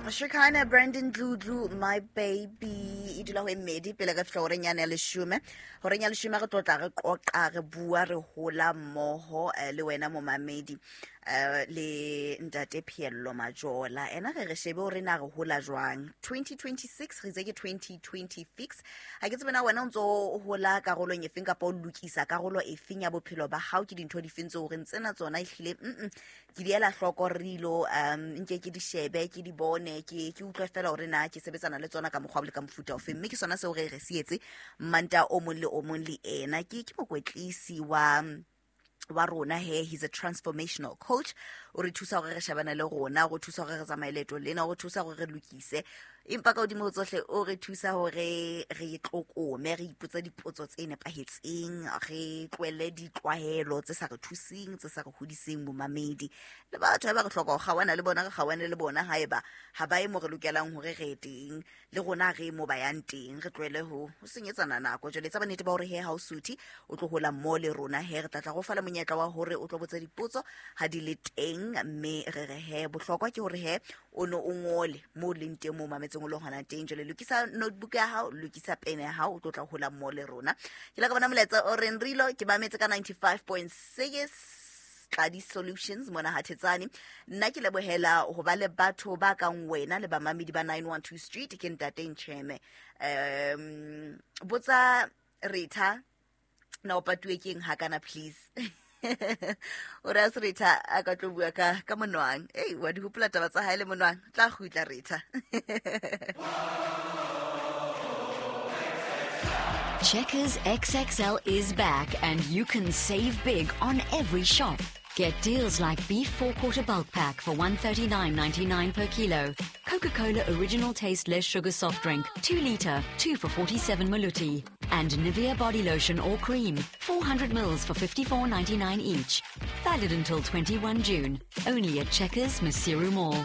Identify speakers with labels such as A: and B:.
A: Shekina Brandon Dludlu, my baby, e dula ho e mmedi pele re fihla horeng yane ya leshome. Horeng ya leshome re tlotla re qoqa re bua re hola mmoho le wena momamedi le ntate Phiello Majola. Ena re re shebe hore na re hola jwang. 2026 re itse ke 2026. Ha ke tsebe na wena o ntso hola karolong efeng kapa o lokisa karolo efeng ya bophelo ba hao, ke dintho difeng tseo reng tsena tsona ehlile ke di ela hloko re ilo nke ke di shebe ke di bone ke utlwe fela hore na ke sebetsana le tsona ka mokgwa le ka mofuta ofe. Mme ke sona seo re re se etse Manta o mong le o mong le ena. Ke mokwetlisi wa rona he, he's a transformational coach. O re thusa hore re shebane le rona, o re thusa hore re tsamaye leeto lena, o re thusa hore re lokise, empa ka hodimo ho tsohle o re thusa hore re tlokome, re ipotse dipotso tse nepahetseng, re tlohelle ditlwaelo tse sa re thuseng, tse sa re hodiseng bomamedi. Le batho ha ba re hloka ho kgaohana le bona, re kgaohane le bona haeba ha ba ye mo re lokelang hore re ye teng, le rona re mo ba yang teng, re tlohele ho senyetsana nako. Jwale tsa bonnete ba hore he ha o suthe o tlo hola mmoho le rona, he re tla tla go fa le monyetla wa hore o tlo botsa dipotso ha di le teng. Mme re re he bohlokwa ke hore he o ne o ngole mo o leng teng, mo o mametseng o le hona teng. Jwale lokisa notebook ya hao, lokisa pene ya hao, o tlo tla hola mmoho le rona. Ke la ka bona molaetsa o reng Rilo ke mametse ka 95.6 Tladi Solutions mona Hathetsane. Nna ke lebohela ho ba le batho ba kang wena le bamamedi ba 912 Street. Ke ntate Ntjheme. Botsa Retha na o patuwe keng hakana please. O re a se Retha a ka tlo bua ka monwang. Ei, wa di hopola taba tsa hae le monwang. Tla kgutla Retha.
B: Checkers XXL is back and you can save big on every shop. Get deals like beef 4-quarter bulk pack for $139.99 per kilo, Coca-Cola original taste less sugar soft drink, 2 liter, 2 for 47 maluti, and Nivea body lotion or cream, 400 mils for $54.99 each. Valid until 21 June, only at Checkers Maseru Mall.